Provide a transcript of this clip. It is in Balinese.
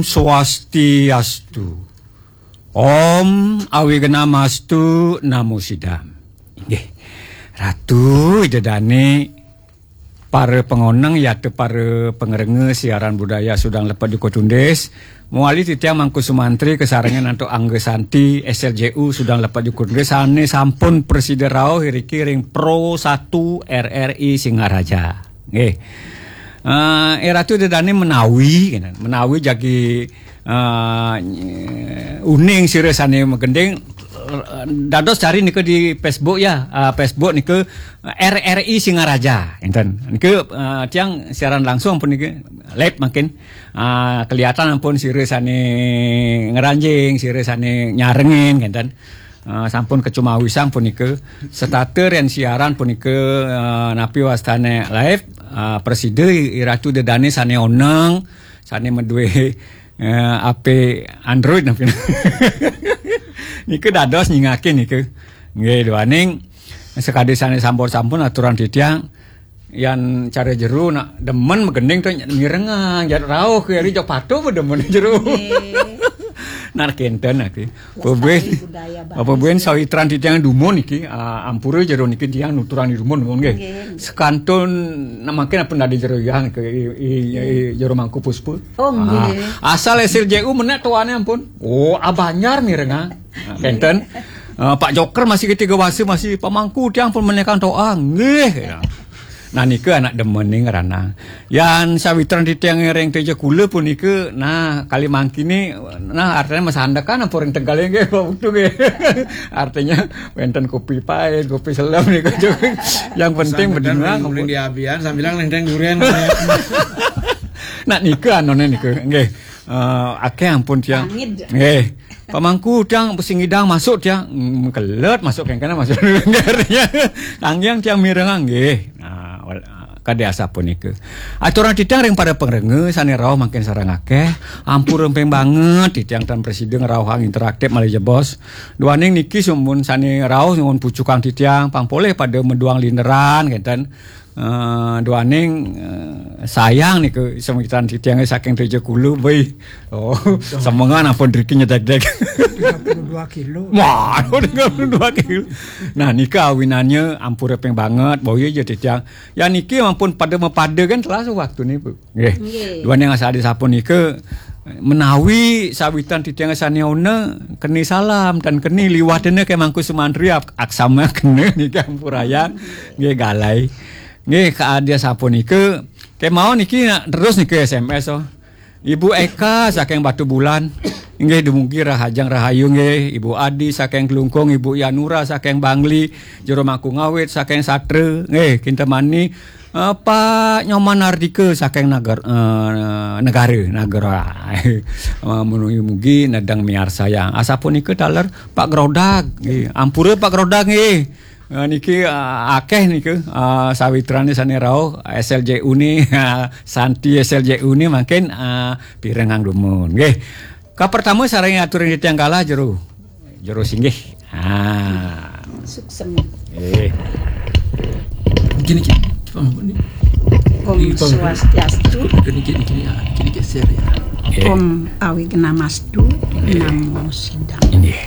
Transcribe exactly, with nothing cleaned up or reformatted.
Swastiastu. Om Awignamastu Namo Sidam. Inggih. Ratu Ida Dane, para pangoneng, yata para pangrengga siaran budaya Sudang Lepet Jukut Undis, mawali titiang Mangku Sumantri kasarengin antuk Angga Santi, S L J U, Sudang Lepet Jukut Undis, sane sampun prasida rauh iriki ring Pro satu R R I Singaraja. Nggih. Eh, eh, Ratu Ida Dane menawi, kenten. Menawi jagi, eh, uning sira sane magending, eh, dados cari nika di Facebook ya, eh, Facebook nika, eh, R R I Singaraja, kenten. Nika, eh, tiang siaran langsung pun nika live mangkin, eh, kelihatan ampun sira sane ngranjing, sira sane nyarengin, kenten. Eh, sampun kacumawisang punika, setata ren siaran punika, eh, napi wastane live, eh, prasida I Ratu Ida Dane sane oneng, sane madue, eh, H P Android napi. Nika dados nyingakin nika. Nggih, duaning sakadi sane sampun-sampun aturang titiang, yan cara jero nak demen magending to mirengang, jat rauh ke ari jok patuh pa demen jero. Nggih. Nak kenten ake. Lestari budaya Bali. Apa buen sawitran titiang dumun niki, ah, ampura jero niki tiang nuturang di dumun, dumun nggih. Nggih. Sekantun nak mangkin apa nadi jero yang ke i, i, i, jero Mangku Puspa. Oh, nggih. Ah, asal S L J U menek tuane ampun. Oh, abanyar mirengang. Ah, kenten. Ah, Pak Joker masih ketiga wasa masih pamangku tiang pun menekan toa. Nggih. Nah, nika anak demen ning ranang. Yan sawitran titiang ring Teja Kula punika, nah, kali mangkini, nah, artine masandekan apa ring Tegal nggih, Pak Putu nggih. Artinya wenten kopi pait, kopi selem nika. Yang penting masandekan bedingang ring, ring diabian sambilang nenteng duren. Nah, nika anone nika nggih. Eh, akeh ampun tiang. Pangid. Nggih. Pamangku tiang sing ngidang masuk tiang, mm, kelet masuk kengkene masuk. Artinya, tanggiang tiang mirengang nggih. Nah, wal-, kadi asapunika. Aturang titiang ring para pangrengga sane rauh mangkin sareng akeh, ampura ping banget titiang tan prasida ngrauhang interaktif malih jebos. Duaning niki sumpun sane rauh nyuwun pucukang titiang, pang polih pada meduang linderan kenten. Eh, duaning, eh, sayang nika sawitran titiange saking Teja Kula, beuh. Oh, semengan ampun driki nyedek-dek. Tiga puluh dua kilo. Wah, tiga puluh dua kilo. Nah, nika awinannya ampura ping banget, boya ja titiang. Ya niki ampun pada mapada kan telah waktune, Bu. Nggih. Nggih. Duaning asal disapunika menawi sawitran titiang sane ona keni salam dan keni liwatene ke Mangku Sumantri ap-, aksama kena nika ampurayang. Nggih, galai. Nggih, kadi asapunika. Kemawon niki nak terus niki S M S, oh. Ibu Eka saking Batubulan. Nggih, dumugi rahajeng rahayu nggih. Ibu Adi saking Klungkung, Ibu Yanura saking Bangli, Jero Mangku Ngawit saking Satra. Nggih, kintemani, eh, Pak Nyoman Ardika saking Nagar-, eh, Negara, Nagara. Eh, mugi-mugi nedeng miarsayang. Asapunika taler Pak Grodag. Nggih, ampura Pak Grodag nggih. Eh, niki, eh, akeh niki, eh, sawitrane sane rauh, S L J U ni, Santi S L J U ni mangkin, eh, pirengang dumun. Nggih. Kapertama sareng aturin titiang galah jero. Jero singgih. Ah. Suksem. Eh. Gini, gini. Coba, Bu, ni. Om Ini, Pak, Swastiastu. Gini, gini, gini, ya. Gini geser, ya. Eh. Om Awignamastu. Eh. Namo Sidam. Nggih.